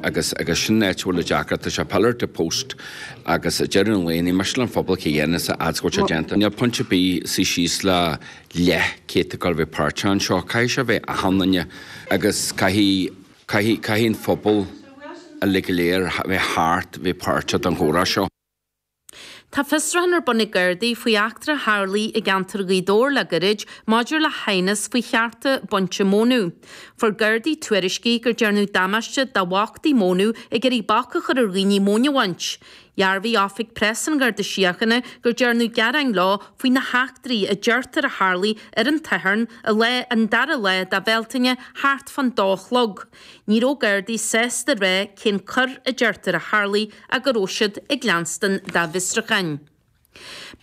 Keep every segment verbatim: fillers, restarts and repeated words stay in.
agus agus sin áit a bhfuil deacracht tá sé pillar to post agus deireadh an lae ní miste an phobal cé dhéanamh sa fhad go déanta. Níl pointe ar bith suí síos le leathchéad go bheith páirteach anseo, caithfidh sé bheith achan duine agus caithfidh caithfidh an phobal uilig go léir bheith thart bheith páirteach den chomhrá seo. Tá fiosrúchán ar bun ag Gardaí faoi eachtra a tharlaigh i gceantar Ghaoth Dobhair le gairid maidir le haighneas faoi chearta bainte mónadh. Fuair Gardaí tuairiscí gur déanadh damáiste do bhachtaí mónadh ag iarraidh bac a chur ar dhaoine móin a bhaint. Dhearbhaigh Oifig Preas an Gharda Síochána gur dearnadh gearáin leo faoi na heachtraí a deirtear a tharlaigh ar an tSatharn i lá an dara lá de Bhealtaine thart fán dó a chlog. Ní raibh Gardaí sásta rá cén coir a deirtear a tharlaigh ach go raibh siad ag leanstan dá bhfiosrúcháin.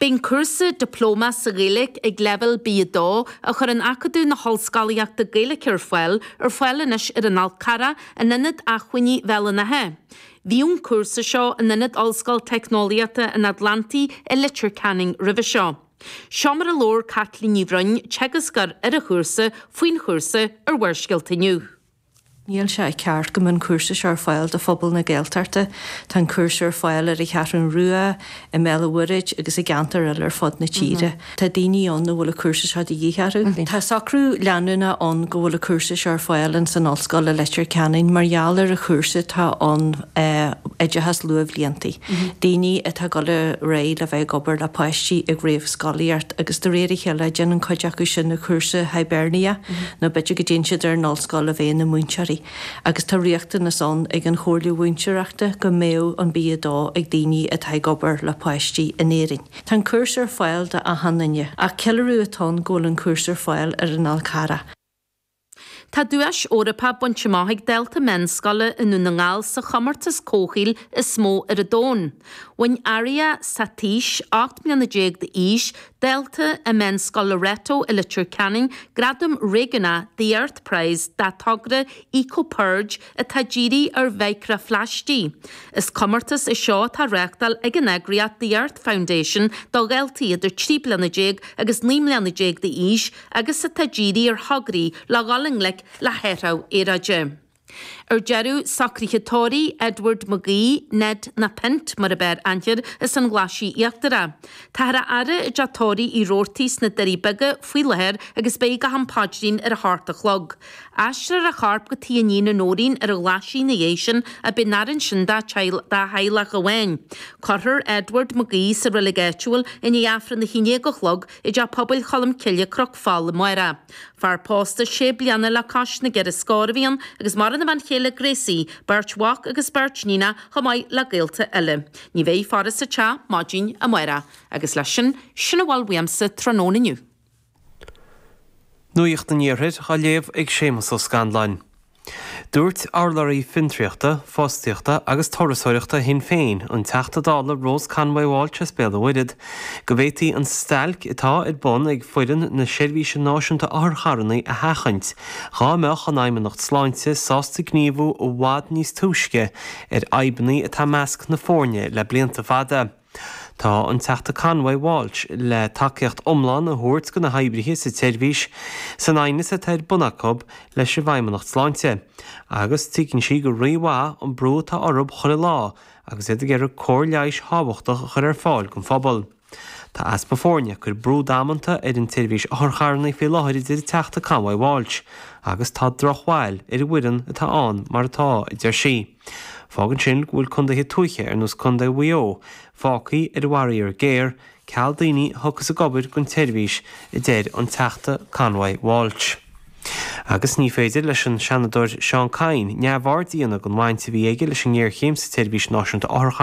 Beidh cúrsa dioplóma sa Ghaeilge ag leibhéal B a dó a chuireann Acadamh na hOllscolaíochta Gaeilge ar fáil ar fáil anois ar an Fhál Carrach in Ionad Acmhainní Bhéal an Átha. Bhí an cúrsa seo in Ionad Ollscoil Teicneolaíochta an Atlantaigh i Leitir Ceanainn roimhe seo. Seo mar a labhair Caitlín Ní Bhroin, teagascóir ar an chúrsa faoin chúrsa ar Bharrscéalta inniu. Níl sé ceart go mbeadh an cúrsa seo ar fáil do phobal na Gaeltachta, Tá an cúrsa ar fáil ar an Cheathrú Rua, i mBéal an Mhuirthead agus i gceantair eile ar fud na tíre. Tá daoine ann a bhfuil an cúrsa seo de dhíth orthu. Tá socrú leanúnach ann go bhfuil an cúrsa seo ar fáil in san ollscoil i Leitir Ceanainn mar gheall ar an chúrsa tá an oideachas luathbhlianta. Daoine atá ag dul ar aghaidh le bheith ag obair le páistí ag réamhscolaíocht agus de réir a chéile déanann cuid acu sin na cúrsa Hibernia nó b'fhéidir go dtéann siad ar an ollscoil a bheith ina múinteoirí. agus tá riachtanas ann ag an Chomhairle Mhúinteoireachta go mbeadh an B a dó ag daoine atá ag obair le páistí in Éirinn. Tá an cúrsa ar fáil do achan duine, ach ceiliúradh atá ann go bhfuil an cúrsa ar fáil ar an Fhál Carrach. Tá duais Eorpach bainte amach ag dalta meánscoile i nDún na nGall sa chomórtas comhshaoil is mó ar an domhan. Bhain Arya Satish ocht mbliana déag d'aois dalta i Meánscoil Loreto i Leitir Ceanainn gradam réigiúnach The Earth Prize dá togra EcoPurge atá dírithe ar mhicreaphlaistigh. Is comórtas é seo atá reáchtáil ag an eagraíocht The Earth Foundation do dhaltaí idir trí bliana déag agus naoi mbliana déag d'aois agus atá dírithe ar thograí le dhul i ngleic le hathrú aeráide. Ar deireadh socruithe tórraimh Edward McGee, Ned na Pint mar ab fhearr aithne air as an Ghlaisigh Íochtarach. Táthar á fhaire i dteach tórraimh Uí Robhartaigh sna Doirí Beaga faoi láthair agus beidh go ham paidrín ar a hocht a chlog. Aistreofar a chorp go tigh a iníne Nóirín ar an Ghlaisigh ina dhiaidh sin ach beidh an fhaire ansin dá theaghlach amháin. Cuirfear Edward McGee sa reilig áitiúil i ndiaidh Aifreann a haon déag a chlog i dteach pobail Cholm Cille Cnoc Fáil amárach. Fear pósta sé bliana le cois na gceithre scór a bhí ann agus maireann a bhean chéile Gracie, beirt mhac agus beirt níon chomh maith le gaolta eile. Ní bheidh faire sa teach maidin amárach, agus leis sin sin a bhfuil uaimse tráthnóna inniu. Nuacht an Iarthair á léamh ag Séamus Ó Scanláin. Dúirt urlabhraí fiontraíochta, fostaíochta agus turasóireachta Shinn Féin an Teachta Dála Rose Conway Walsh as Béal an Mhuirthead, go bhféadfaí an stailc atá ar bun ag foireann na Seirbhíse Náisiúnta Otharcharranna a sheachaint, dá mbeadh an Fheidhmeannacht Sláinte sásta gníomhú i bhfad níos túisce ar fhadhbanna atá i measc na foirne le blianta fada. Tá an Teachta Conway Walsh le tacaíocht iomlán a thabhairt do na hoibrithe sa tseirbhís san aighneas atá ar bun acu leis an bhFeidhmeannacht Sláinte, agus tuigeann sí go rímhaith an brú atá orthu chuile lá agus iad ag iarraidh cóir leighis thábhachtach a chur ar fáil don phobal. Tá easpa foirne ag cur brú damanta ar an tseirbhís otharcharranna faoi láthair a deir an Teachta Conway Walsh, agus tá drochbhail ar an bhfoireann atá ann mar atá, a deir sí. Fágann sin go bhfuil contaetha tuaithe ar nós Contae Mhaigh Eo fágtha ar an bhfaraor géar, ceal daoine a thiocfas ag obair don tseirbhís, a deir an Teachta Conway Walsh. Agus ní féidir leis an Seanadóir Seán Kyne neamhaird a dhéanamh den bhaint a bhí aige leis an ngéarchéim sa tseirbhís náisiúnta otharcharr